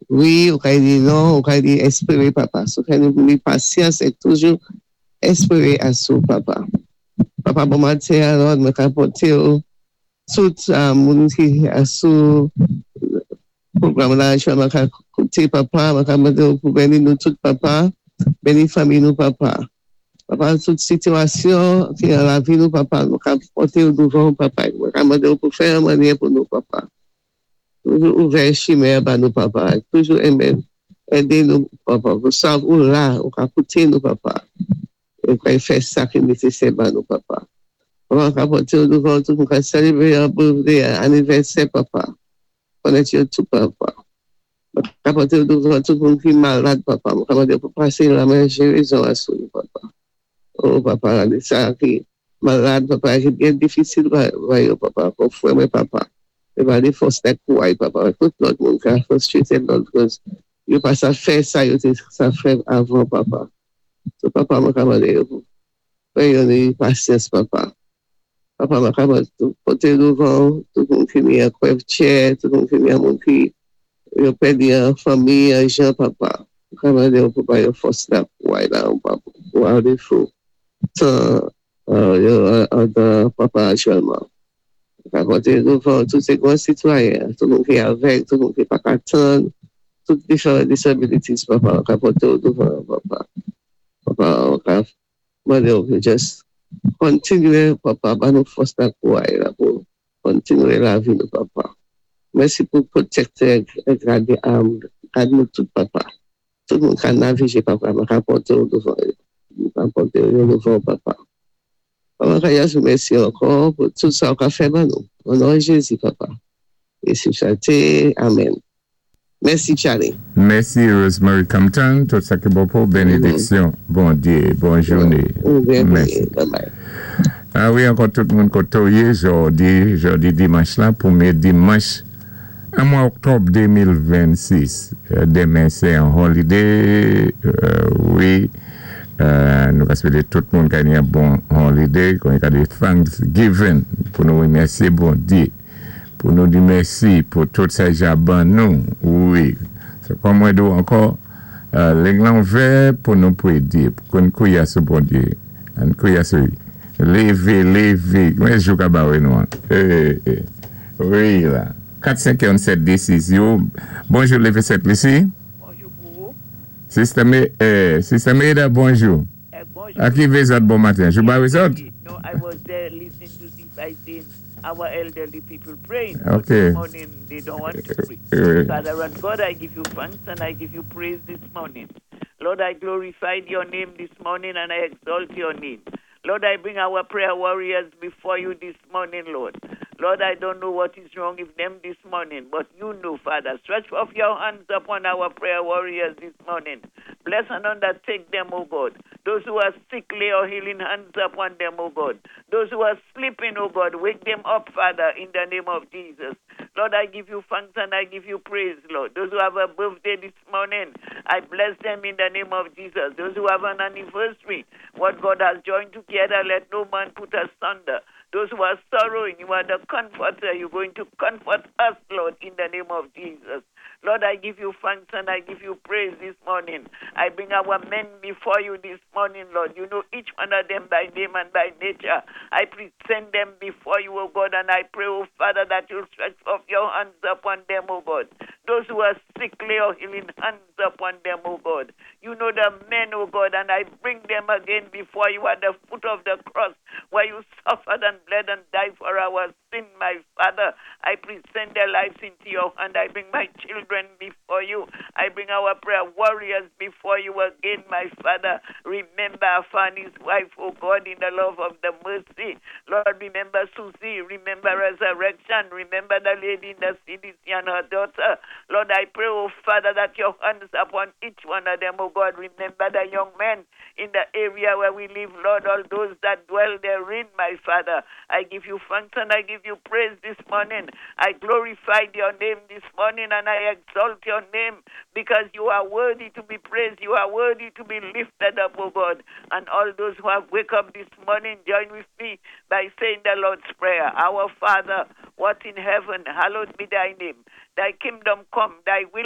Wi, ou kay di non, ou kay di éspéwé, Papa. So fè nou ni pasyans é toujou éspéwé asou, Papa. Papa, bon maten alò, mwen ka pòté ou tout moun ki asou pwogram la, mwen ka kouté, Papa, mwen ka mandé ou pou béni nou tout, Papa, béni fanmi nou, Papa. Papa, tout sitiyasyon ki nan lavi nou, Papa, nou ka pòté ou douvan, Papa, mwen ka mandé ou pou fè yon mannyè pou nou, Papa. Toujou ouvè chimen ba nou, Papa. Toujou enmen, édé nou, Papa. Pou sa ou la, ou ka kouté nou, Papa. É pou fè sa ki nésésè ba nou, Papa. Papa, ka pòté ou douvan tout, nou ka sélébwé yon birthday, anivèsè, Papa. Konnèt yo tout, Papa. Ka pòté ou douvan tout moun ki malad, Papa. Mwen ka mandé pou pasé lamen gérizon asou nou, Papa. Oh, Papa, sa ki malad, Papa, ki byen difisil ba yo, Papa. Pou fwè mwen, Papa. É ba li fòs ak kouway, Papa. Tout lòt moun ka frustrated, Lord, because yo pa sa fè sa yo té sa fè avan, Papa. So, Papa, mwen ka mandé yo pou fè yo ni pasyans, Papa. Papa, mwen ka mandé pòté douvan tout moun ki ni an wheelchair, tout moun ki ni an moun ki yo pèdi an fanmi, an jan, Papa. Mwen ka mandé yo pou ba yo fòs la kouway la, Papa, pou alé fou tan yo an Papa aktyèlman. Ka pòté douvan tout sé gwan sitwayen, tout moun ki avèg, tout moun ki pa ka tann, tout different disabilities, Papa, ka pòté ou douvan, Papa. Papa, ka mandé ou pou just kontinyé, Papa, ba nou fòs la kouway la pou kontinyé lavi nou, Papa. Mèsi pou pwotektè é gadé gad nou tout, Papa. Tout moun ka navigé, Papa, mwen ka pòté ou douvan yo. Mwen ka pòté yo douvan, Papa. Papa, ka yas mèsi ankò pou tout sa ou ka fè ba nou. O non Jézi, Papa. É si chante, amèn. Mèsi, Charlie. Mèsi, Rosemary Compton. Tout sa ki bon pou bénédiksyon. Bondyé, bòn jouné. Mèsi. Bye bye. A wi, ankò tout moun koté ou yé, jòdi, jòdi dimanch la, pwémyé dimanch, an mwa oktòb 2026. Denmen sé yon holiday, wi, nou ka swété tout moun ka ni yon bon holiday, kon yon ka di Thanksgiving, pou nou wémèsyé Bondyé, pou nou di mèsi pou tout sa Jah ban nou, wi. Sé kòm mwen di ankò, liy lan ouvè pou nou pwédyé, pou nou kwiyé sou Bondyé, ann kwiyé sou lévé, lévé, mwen jou ka ba nou an. Wi la. 4 5 1 7 2 6 yo. Bonjou, Lévé 7 Lisi. Bonjou pou ou. Sister Sister Maida, bonjou. Bonjou. A ki vé zòt bon maten? Jou ba zòt? No, I was there listening to this. I seen our elderly people praying. This morning they don't want to pray. Father and God, I give you thanks and I give you praise this morning. Lord, I glorify your name this morning and I exalt your name. Lord, I bring our prayer warriors before you this morning, Lord. Lord, I don't know what is wrong with them this morning, but you know, Father. Stretch forth your hands upon our prayer warriors this morning. Bless and undertake them, O God. Those who are sick, lay your healing hands upon them, O God. Those who are sleeping, O God, wake them up, Father, in the name of Jesus. Lord, I give you thanks and I give you praise, Lord. Those who have a birthday this morning, I bless them in the name of Jesus. Those who have an anniversary, what God has joined together, let no man put asunder. Those who are sorrowing, you are the comforter. You're going to comfort us, Lord, in the name of Jesus. Lord, I give you thanks and I give you praise this morning. I bring our men before you this morning, Lord. You know each one of them by name and by nature. I present them before you, O God, and I pray, O Father, that you'll stretch forth your hands upon them, O God. Those who are sick, lay your healing hands upon them, O God. You know the men, O God, and I bring them again before you at the foot of the cross where you suffered and bled and died for our sin, my Father. I present their lives into your hand. I bring my children before you. I bring our prayer warriors before you again, my Father. Remember Fanny's wife, O God, in the love of the mercy. Lord, remember Susie. Remember Resurrection. Remember the lady in the CDC and her daughter. Lord, I pray, O Father, that your hands upon each one of them, O God. Remember the young men in the area where we live, Lord, all those that dwell therein, my Father. I give you thanks and I give you praise this morning. I glorify your name this morning and I exalt your name because you are worthy to be praised. You are worthy to be lifted up, O God. And all those who have wake up this morning, join with me by saying the Lord's Prayer. Our Father, what in heaven, hallowed be thy name. Thy kingdom come, thy will